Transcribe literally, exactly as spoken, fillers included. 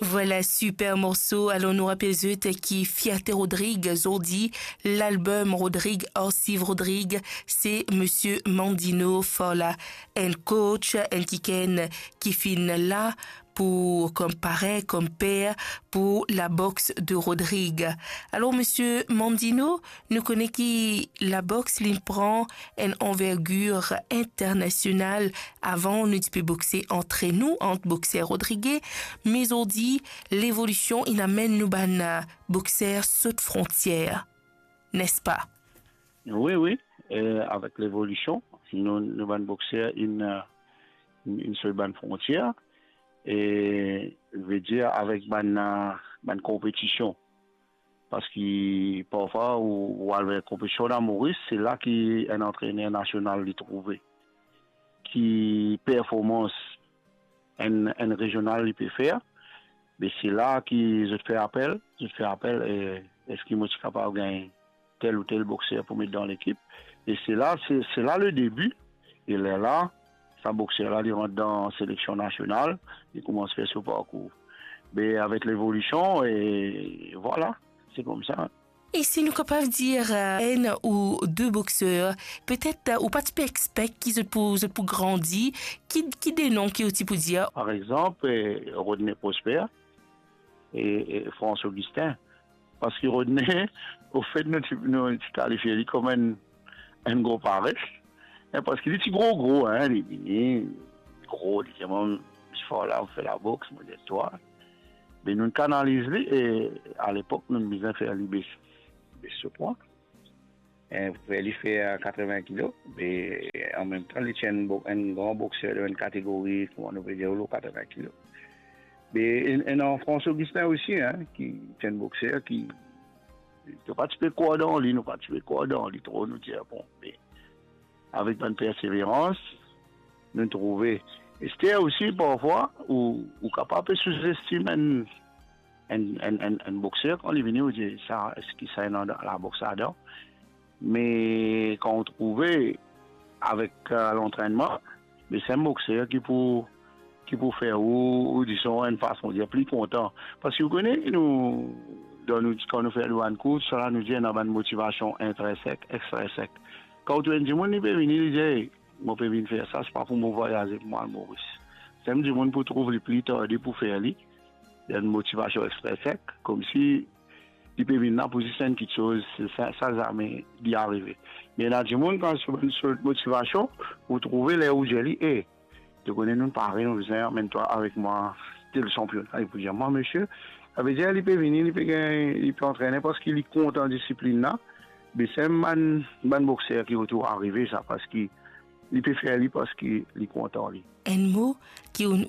Vwala, siper morso. Alor, nou rapel zot ki Fierte Rodrig, zordi, lalbom Rodrig, Arsiv Rodrig, se Misie Mandino Fala, enn coach, enn kikenn ki finn la pou, kom parenn, kom per pou laboks de Rodrig. Alor, Misie Mandino, nou kone ki laboks, li pran enn anvergir internasional. Avan, nou ti pe bokse antre nou, ant bokser rodrige, me zordi, levolision inn amenn nou bann, eh, bokser sot frontier, nespa? Wi, wi. Eh, avek levolision, nou, nou bann bokser inn, eh, inn, inn sot bann frontier, e, vedir avek bann, eh, bann konpetision. Parski parfwa ou, ou al ver konpetision dan Moris, se la ki enn antrener nasional li trouve ki performans enn, enn rezional li pe fer, me se la ki zot fer apel, zot fer apel, e, eski mo ti kapav gagn tel ou tel bokser pou met dan lekip? E se la, se, se la le debi. E lerla, sa bokser la, li rant dan seleksion nasional, li koumans fer so parkour. Me avek levolision, e vwala, se koumsa. E si nou kapav dir, eh, enn ou de bokser, petet, eh, ou pa ti pe expect ki zot pou, zot pou grandi, ki, ki de non ki ou ti pou dir? Par exanp, eh, Rodney Prosper e, e Frans Augustin. Parski Rodney, ofet, nou ti, nou ti kalifie li kom enn, enn gro pares, en, parski li ti gro, gro, en, li vini gro, li dir mwa, "Misie Fala, fer laboks," mo dir, "Twa." Me nou kanaliz li, e alepok, nou bizin fer li bes, bes so pwa. En, fer li fer katrevin kilo, me anmemtan, li ti enn bo-, enn gran bokser dan enn kategori, kouma nou pe dir, lor katrevin kilo. Me enn, enn Frans Augustin osi, en, ki ti enn bokser ki, nou pa ti pe krwar dan li, nou pa ti pe krwar dan li tro, nou dir, bon, me avek bann perseverans, nou trouve. Ester osi, parfwa, ou, ou kapav pe souzestim enn, enn, enn, enn, enn bokser, kan li vini, ou dir, "Sa, eski sa ena laboks ladan?" Me kan ou trouve avek, eh, lantrennman, me se enn bokser ki pou, ki pou fer ou, ou dizon, enn fason dir, pli kontan. Parski ou kone, nou, dan nou, kan nou fer nou bann kours, sa la, nou dir ena bann motivasion intrinsek, extrinsek. Kan ou trouv enn dimoun, li pe vini, li dir, "Ey, mo pe vinn fer sa, se pa pou mo vwayaze, pou mo al Moris." Sa enn dimoun pou trouv li pli tarde pou fer li, li ena enn motivasion extrinsek, koumsi li pe vinn la pou zis enn kiksoz, sa, sa zame li arive. Me ena dimoun, kan so, so motivasion, ou trouve ler ou dir li, "E, to kone nou pare, nou bizin amenn twa avek mwa tel sanpiona." Li pou dir, "Mwa, misie," savedir li pe vini, li pe gagn, li pe antrene parski li kontan disiplinn la. Me se bann, bann bokser ki retour arive sa, parski li pe fer li parski li kontan li. Enn mo ki ou'nn